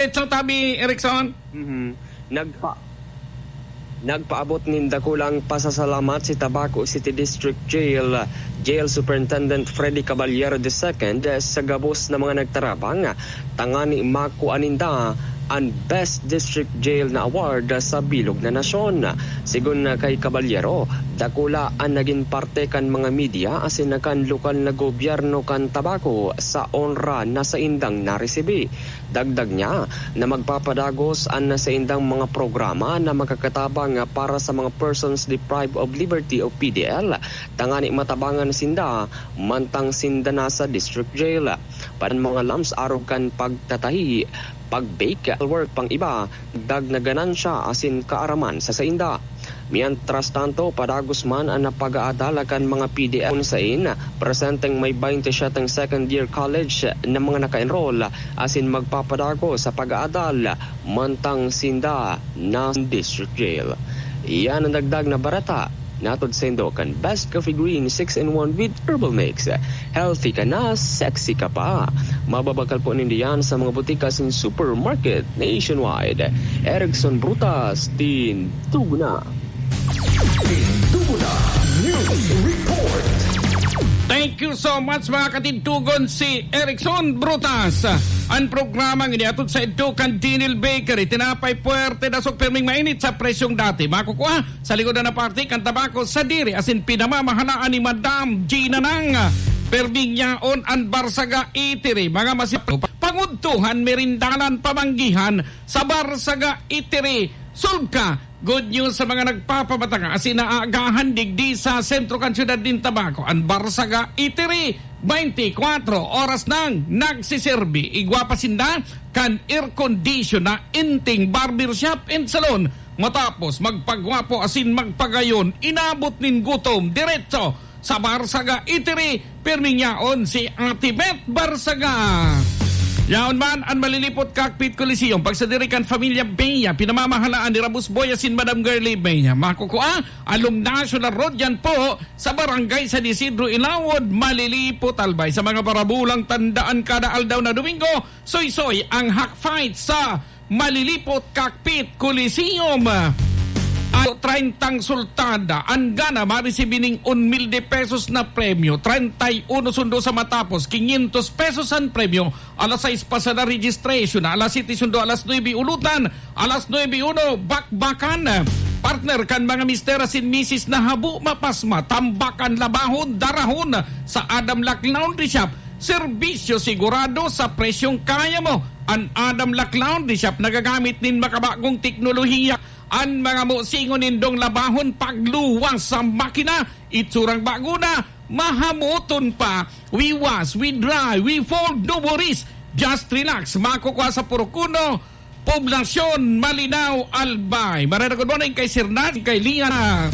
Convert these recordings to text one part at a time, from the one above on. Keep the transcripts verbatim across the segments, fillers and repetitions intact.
Ito, Tabi Erickson. Mhm. Nagpa-, nagpaabot nin dakulang pasasalamat si Tabaco City District Jail, Jail Superintendent Freddy Caballero the second sa gabos na mga nagtarabang, tangani makua ninda an Best District Jail na award sa bilog na nasyon. Sigon na kay Caballero, dakula an nagin parte kan mga media asin na kan lokal na gobyerno kan Tabaco sa onra na saindang naresibi. Dagdag niya na magpapadagos an saindang mga programa na makakatabang para sa mga persons deprived of liberty o P D L, tangani matabangan sinda mantang sinda nasa district jail. Padan mga lamps arog kan pagtatahi, pag-bake, work pang iba, dagdag na ganansya asin kaaraman sa sainda. Mientras tanto, padagos man an pag-aadal kan mga P D L kun sain presenteng may baynte siyete second year college na mga naka-enroll asin magpapadagos sa pag-aadal mantang sinda na district jail. Iyan an dagdag na bareta. Natod saindo kan Best Coffee Green six-in-one with Herbal Mix. Healthy ka na, sexy ka pa. Mababakal po ninda yan sa mga butika asin supermarket nationwide. Erickson Brutas, Tindugo Na. Tindugo Na News Report. Thank you so much, mga katindugon, si Erickson Brutas. An programang ini hatod saindo kan Dinil Bakery. Tinapay puwerte, dasog pirming mainit sa presyong dati. Makukua sa linggodan na parte kan Tabaco sa diri asin pinamamahalaan ni Madam Gina Nang. Perming yaon an Barsaga Eatery, mga masi-, pangudtuhan, merindalan, pamanggihan sa Barsaga Eatery. Solve ka! Good news sa mga nagpapamatanga asin naaagahan digdi sa sentro kan siyudad nin Tabaco. An Barsaga Eatery, twenty-four oras nang nagsiserbi. Igwa pa sinda kan air condition na inting barbershop and salon. Matapos magpagwapo asin magpagayon, inabot nin gutom, diretso sa Barsaga Eatery, pirming yaon si Ate Beth Barsaga. Yaon man an Malilipot Cockpit Coliseum, pagsadiri kan Familia Bea, pinamamahalaan ni Rabus Boy asin Madam Girlie Bea. Makukua, along National Road yan po, sa Barangay San Isidro, Ilawod, Malilipot, Albay. Sa mga parabulang tandaan, kada aldaw na Domingo, soysoy ang Hack Fight sa Malilipot Cockpit Coliseum. Ano, treyntang sultada an gana maresibi ning un mil de pesos na premyo, treinta y uno sundo sa matapos, quinientos pesos an premyo. Alas sais pasada registration, alas siyete sundo, alas nuebe ulutan, alas nuebe uno bakbakan. Partner kan mga mister asin misis na habo mapasma, tambakan, labahon, darahon sa Adam Lac Laundry Shop. Serbisyo sigurado sa presyong kaya mo. An Adam Lac Laundry Shop nagagamit nin makabagong teknolohiya. An mga musingon nindong labahon pagluwas sa makina, itsurang bago na, mahamoton pa. We wash, we dry, we fold, no worries. Just relax. Makukua sa Purok Uno, Poblacion, Malinao, Albay. Marhay na good morning kay Sir Nad, kay Liana.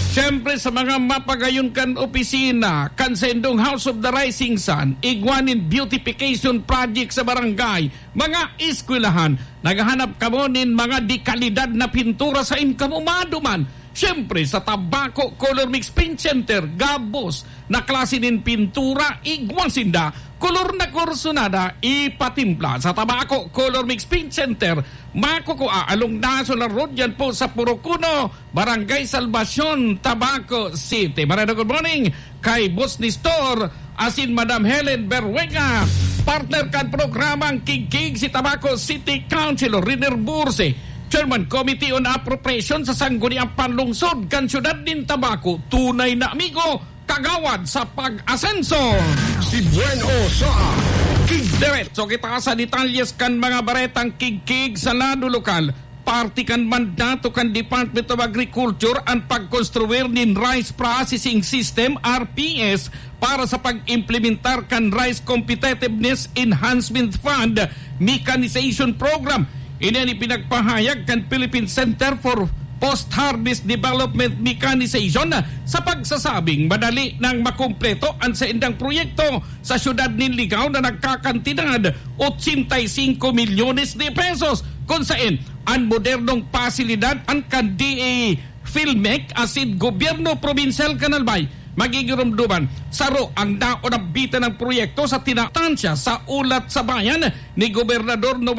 Siyempre, sa mga mapagayon kan opisina, kan saindong House of the Rising Sun, igwa nin beautification project sa barangay, mga eskwelahan, naghahanap kamo nin mga dekalidad na pintura, sain kamo maduman? Siyempre, sa Tabaco Color Mix Paint Center, gabos na klase nin pintura, igwa sinda, kolor na kursunada, ipatimpla. Sa Tabaco Color Mix Paint Center, makukua along National Road yan po sa Purok Uno, Barangay Salvacion, Tabaco City. Marhay na good morning kay Boss Nestor asin Madam Helen Berwega. Partner kan programang Kigkig si Tabaco City Councilor Riner Burse, Chairman Committee on Appropriation sa Sangguniang Panlungsod kan Siyudad nin Tabaco. Tunay na amigo, kagawad sa pag-asenso. Si Buen O sa Kig. Diretso kita sa detalyes kan mga baretang Kigkig sa lado lokal. Parte kan mandato kan Department of Agriculture an pagkonstruir nin Rice Processing System, R P S, para sa pag-implementar kan Rice Competitiveness Enhancement Fund Mechanization Program. Ini an ipinagpahayag kan Philippine Center for Post-Harvest Development Mechanization sa pagsasabing madali nang makumpleto an saindang proyekto sa siyudad nin Ligao na nagkakantidad ochenta y cinco milyones de pesos, kun saen an modernong pasilidad an kan D A Filmec asin Gobyerno Probinsyal kan Albay magigiromdoman. Saro ang naunambitan ng proyekto sa tinatansya sa Ulat sa Bayan ni Gobernador Noel